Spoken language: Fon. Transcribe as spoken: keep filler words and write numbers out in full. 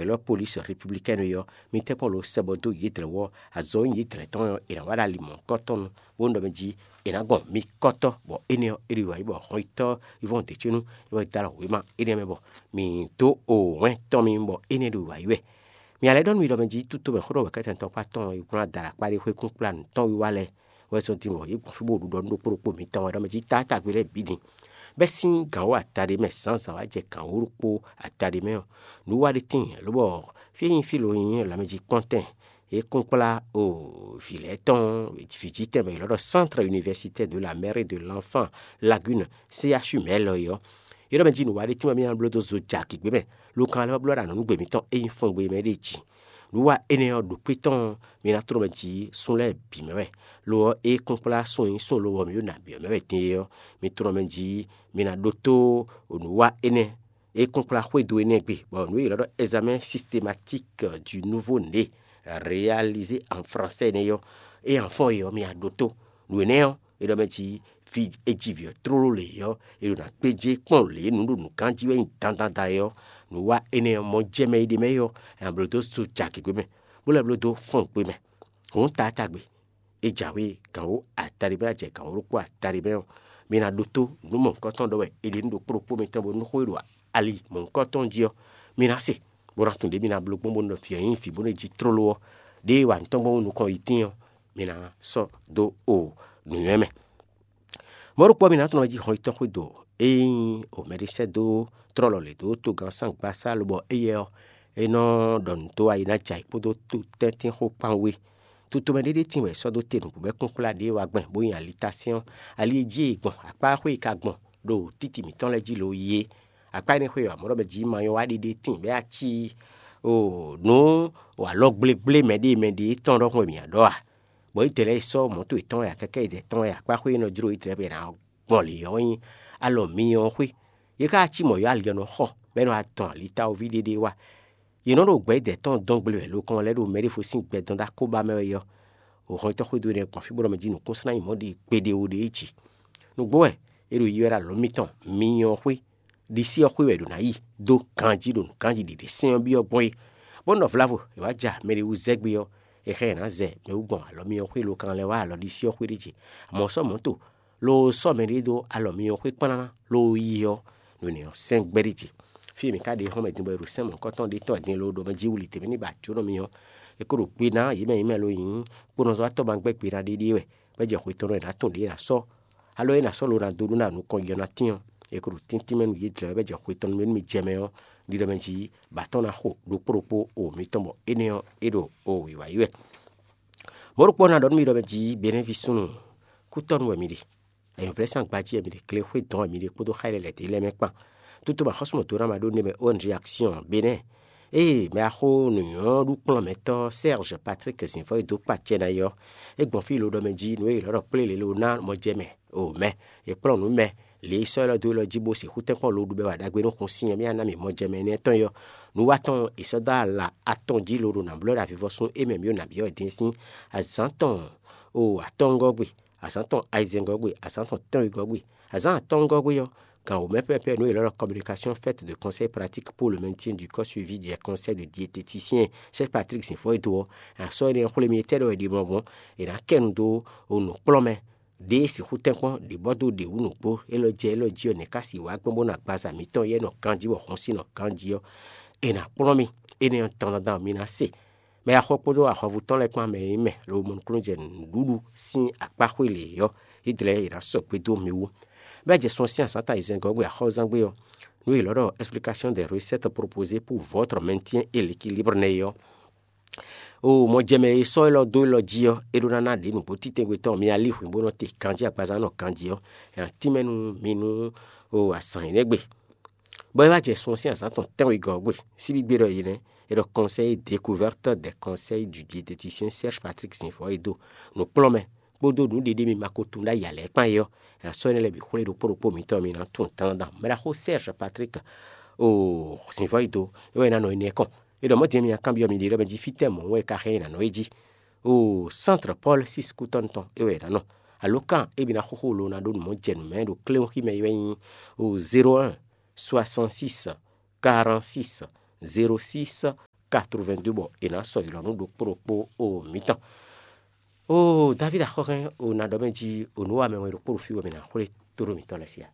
Élɔ́ polísi républicaine ɔ́, mi tɛ́nkpɔ́n lo sɛ bɔ dó yědlɛ̌ wú ɔ́, azɔ̌ e nyí yědlɛ̌ tɔn ɔ́, è nǎ wa ɖo ali mɔ̌hunkɔtɔn nu, bónú ɖɔ mɛ jí è nǎ gbɔn mi kɔ́tɔ́, bɔ énɛ́ ɔ́, é ɖo yi wǎ yi bɔ hɔnyitɔ́ yi vɔ́n dě có nú é wɛ dó alɔ wěma énɛ́ mɛ bɔ mǐ dó o wɛ̌n tɔn mi bɔ énɛ́ ɖo yi wǎ yi wɛ. Mi a lɛ́ ɖɔ nú mi ɖɔ mɛ jí tútomɛ xó ɖɔ wɛ̌kɛ́tɛn tɔn kpá tɔn e kplɔ́n adala kpá ɖé xwé kún kplá nǔ tɔn wiwa lɛ́ɛ wɛ zɔ́n din bɔ yě gbɔn fí bó ɖu ɖɔ nú ɖokpó ɖokpó mǐtɔn wɛ ɖɔ mɛ jí tátágbe lɛ́ɛ bǐ din. Bɛ́ sín gǎn wǒ ata ɖé mɛ zǎnzǎn wá jɛ gǎn wǒ ɖokpó ata ɖé mɛ ɔ́, nǔ wa ɖé tíin lobɔ fí e nyí fí lo nyí lanmɛjí kpɔ́ntɛn é kún kplá o vǐ lɛ́ɛ tɔn vǐjítɛn bɔ è nɔ ɖɔ Centre Universitaire de la Mère et de l'Enfant Lagune, C H U mɛ lɔ é ɔ́. É ɖɔ mɛ jí nǔ wa ɖé tín bɔ mì ná bló dó zo jɛ agǐgbé mɛ, lokan lɛ́ɛ wá bló ɖo anɔ̌nugbe mǐtɔn e nyí fɔngbe mɛ ɖe jí. Nǔ wa énɛ́ ɔ́ ɖo kpé tɔn mì ná tló mɛ jí sún lɛ́ɛ bǐ mɛ wɛ. Lo ɔ́, é kún kplá sún e nyí sún lobɔ mǐ ɖo nǎ byɔ́ mɛ wɛ din é ɔ́, mi tló mɛ jí mi ná ɖótó nǔ wa énɛ́ é kún kplá xwédo énɛ́ gbe, bɔ nǔ e è nɔ ɖɔ examen systématique du nouveau né réalisé en français nɛ́ ɔ́, é hɛn fɔ́n é ɔ́, mi a ɖótó. Nǔ énɛ́ ɔ́, é ɖɔ mɛ jí fi e jí vǐ ɔ́ tlóló lě ɔ́, è ɖo ná gbéjé kpɔ́n lě e nǔ ɖo nǔgán jí wɛ nyí dandan da é ɔ́, nǔ wa énɛ́ ɔ́, mɔ jɛ mɛ e ɖ'é mɛ é ɔ́, è nǎ bló dó so jɛ agě mɛ, bó lɛ́ bló dó fɔn gbe mɛ. Hǔn taátagbe, é jǎwe gǎn wǒ ata ɖé mɛ, a jɛ gǎn wǒ ɖokpó ata ɖé mɛ ɔ́, mi ná ɖótó nǔ mɔ̌hunkɔtɔn ɖɔ wɛ è ɖe nú ɖokpó ɖokpó mitɔn bónú xó e ɖo ali mɔ̌hunkɔtɔn jí ɔ́, mi ná se, bó ná tunwun ɖě mi ná bló gbɔn bónú ɖɔ vǐ ɔ́ nyí vǐ bónú è jí tlóló ɔ́, ɖěe wa nǔ tɔn gbɔn nukɔn yi tíin ɔ́, mi ná sɔ́ dó o nǔnywɛ́ mɛ. Mɔ̌ ɖokpó ɔ́, mi ná tunwun jí hɔn yi tɔ́ xwédo e nyí o mɛɖé sɛ́ dó tlɔ́lɔ lě dó togán sángbasá lobɔ éyɛ́ ɔ́, é nɔ ɖɔ nǔ dó ayi ná jɛ ayǐ kpódó tɛ́ntin xó kpán wú é. Tutomɛ ɖé ɖé tíin wɛ è sɔ́ dó te nǔgbó bɔ é kún kplá ɖě e wá gbɛn bó nyi alitá sɛ́n ɔ́, ali e jí è gbɔn akpá xwé e ka gbɔn ɖo títì mǐtɔn lɛ́ɛ jí lo yi é. Akpá énɛ́ xwé ɔ́, mɔ̌ ɖɔ mɛ jí ma nyɔ́ wá ɖiɖe tíin bɔ é wá cí o nǔ alɔ gblégblé mɛ ɖé mɛ ɖě tɔn ɖɔhun wɛ mǐ ná ɖɔ a? Bɔ Izlayɛ́li sɔ́ mɔ̌to yětɔn wɛ akɛkɛ yědɛɛ tɔn wɛ akpá xwé e nɔ jló Izlayɛ́li bɔ è nǎ gbɔn lě ɔ́ nyí alɔ myɔ ɔ́ xwé. Yě ká cí mɔ̌ yɔ́ ali ɔ́ nɔ xɔ, bɔ é nɔ wá dɔn alitawóví ɖé ɖé wá. Yě nɔ ɖo gbɛ̌ dɛ̌ tɔn dɔn gble wɛ lokɔn lɛ́ɛ ɖo mɛɖéfosín gbɛdɔn dó akóbá mɛ wɛ yɔ. Hɔn tɔ́ xwédo énɛ́ gbɔn fí bó ɖɔ mɛ jí nǔkúnsin ná nyí mɔ̌ ɖi kpeɖé ó ɖe é jí. Nǔgbó wɛ è ɖo yi wɛ ɖo alɔ mitɔn myɔ ɔ́ xwé, ɖisí ɔ́ xwé wɛ è ɖǒ ná yi dó ganjí ɖo nǔganjí ɖě ɖě sɛ́n ɔ́ byɔ́ gbɔn é. Bó nɔ vlavo è wá ja mɛ ɖé wú zɛ́ gbé ɔ́, è xá ɛ ná zɛ mɛ wú gbɔn alɔ myɔ xwé lokan lɛ́ɛ wá alɔ ɖisí ɔ́ xwé ɖé ce. Amɔ̌ sɔ́ mɔ̌ to lo sɔ́ mɛ ɖé dó alɔ myɔ xwé kplán lo yi ɔ́, nǔ énɛ́ ɔ́ sɛ́n gbɛ́ ɖé ce. Fí e mǐ ka ɖe xɔ́mɛ din bɔ è ɖo sɛ́n mɔ̌hunkɔtɔn ɖé tɔn din lo ɖɔ mɛ jí wuli tě mɛ ní ba jǒnɔ mì ɔ́, è ko ɖo gbe ná yě mɛ yě mɛ lo nyǐ kponɔzɔ́watɔ́ ma gbɛ́ gbe ná ɖéɖé wɛ, bɔ é jɛ xwe tɔn ɖɔ è nǎ tɔn ɖě è nǎ sɔ́. Alɔ é ná sɔ́ lo ná dó ɖó ná nukɔn yɔ ná tín ɔ́, è ko ɖo tíntín mɛ nú yě dlɛ̌ wɛ bɔ é jɛ xwe tɔn nú mɛ nú mi jɛ mɛ ɔ́, ɖiɖɔ mɛ jí ba tɔ́n ná xo ɖokpó ɖokpó o mǐtɔn bɔ énɛ́ ɔ́, é ɖo o wǐwá yi wɛ. Mɔ̌ ɖokpó ɔ́ ná ɖɔ nú mi ɖɔ mɛ jí Benɛ́ví súnnu, kútɔ́nu wɛ mi ɖe. Ayǐhúnvlɛ́sán gbají wɛ mi ɖe, klexwé dɔn wɛ mi ɖe kpódó xá e lɛ́ lɛ̌ dó lɛ́ɛ mɛ kpán. Tutu ma xɔ́sú mɔ̌ dó ná ma ɖó nɛ́ mɛ O N G Action Benɛ́. Ée mɛ axó nǔnywɛ́ ɖu kplɔ́n mɛtɔ́ Serge Patrick Zǐnfɔ́ e dó kpa acɛ ná é ɔ́, é gbɔn fí lo ɖɔ mɛ jí nǔ e è lɔ̌ ɖɔ kplé lě lo ná mɔjɛmɛ o mɛ, è kplɔ́n nǔ mɛ lě e sɔ́ élɔ́ dó élɔ́ jí bó sixú tɛ́nkpɔ́n lo ɖu bɛ wa ɖagbe nú xun sin ɔ́ mì ná mǐ mɔjɛmɛ énɛ́ tɔn é ɔ́. Nǔ wa tɔn è sɔ́ dó ala atɔn jí lo ɖo nǎ blɔ́ ɖo avivɔsún e mɛ mǐ ɖo nǎ byɔ́ wɛ din sín azǎn tɔn o atɔ́ngɔ́ gbe, azǎn tɔn ayizɛ́ngɔ́ gbe, azǎn tɔn tɛ́nwegɔ́ gbe. Azǎn atɔ́ngɔ́ gbe ɔ́, gan wǒ mɛ pɛ́pɛ́ nǔ e è lɔ́ ɖɔ communication faite de conseil pratique pour le maintien du corps suivi des conseils de diététicien Serge Patrick Zǐnfɔ́ e dó ɔ́, a sɔ́ énɛ́ xwlé mì etɛ́ ɖɔ è ɖi mɔ̌ gbɔn, è nǎ kɛ nu dó o nǔkplɔ́nmɛ ɖě e sixú tɛ́nkpɔ́n ɖě bɔ dó ɖě wú nǔgbó élɔ́ jɛ élɔ́ jí ɔ́, nɛ̌ ká sì wǎ gbɔn bó nɔ agbaza mǐtɔn yɛ́ nɔ ganjí bɔ xɔ́n sín nɔ ganjí ɔ́, è nǎ kplɔ́n mì. Énɛ́ ɔ́, dandan mi ná se. Mɛ e axɔ kpódó ahwanvú tɔn lɛ́ɛ kpán mɛ e nyí mɛ lobo mɔ nukúnnú jɛ nǔɖuɖu sín akpá xwé lě ɔ́, Izlayɛ́li è nǎ sɔgbe dó mi wú. Bɔ é jɛ sun ɔ́ sín azǎn ta ayizɛ́ngɔ́ gbe axɔ́zán gbe ɔ́, nú è lɔ̌ ɖɔ explication des recettes proposées pour votre maintien et l'équilibre nɛ́ é ɔ́, o mɔjɛmɛ e sɔ́ élɔ́ dó élɔ́ jí ɔ́, é ɖó ná ná ɖě nǔgbó títɛngbetɔ́ mi alíhwǐn bó nɔ te ganjí agbaza nɔ ganjí ɔ́, è nǎ tínmɛ nú mi nú o azǎn énɛ́ gbe. Bɔ é wá jɛ sun ɔ́ sín azǎn tɔn tɛ́nwegɔ́ ɔ́ gbe, síbígbe ɖɔ yě nɛ́, è ɖɔ conseil découverte des conseils du diététicien Serge Patrick Zǐnfɔ́ e dó nǔkplɔ́nmɛ kpódó nǔɖiɖi mi ma ko tunwun ɖó ayǐ ǎ lɛ́ɛ kpán é ɔ́, è nǎ sɔ́ énɛ́ lɛ́ɛ bǐ xwlé ɖokpó ɖokpó mǐtɔn mi ná tunwun dandan. Mɛɖaxó Serge Patrick o Zǐnfɔ́ e dó é wɛ è nǎ nɔ énɛ́ kɔn. É ɖɔ mɔ̌ din mi ná kanbyɔ́ mi ɖe ɖɔ mɛ jí fítɛ́ mɔ̌ wɛ è ka hɛn nyi nǎ nɔ é jí. O Centre Paul six kútɔ́nu tɔn é wɛ è nǎ nɔ. Alǒkan e mi ná xóxó lo ná ɖó nǔ mɔ jɛ nǔ mɛ ɖo kléwúnxí mɛ é wɛ nyí o zéro un soixante six quarante six zéro six quatre-vingt-deux bɔ è nǎ sɔ́ ylɔ̌ nú ɖokpó ɖokpó o mǐtɔn. Oo, David axɔ́hɛn, o ná ɖɔ mɛ jí o nǔ wa mɛ wɛ ɖokpó ɖo fí wɛ mɛ ná xwlé tóɖó mǐtɔn lɛ́ɛ sí a?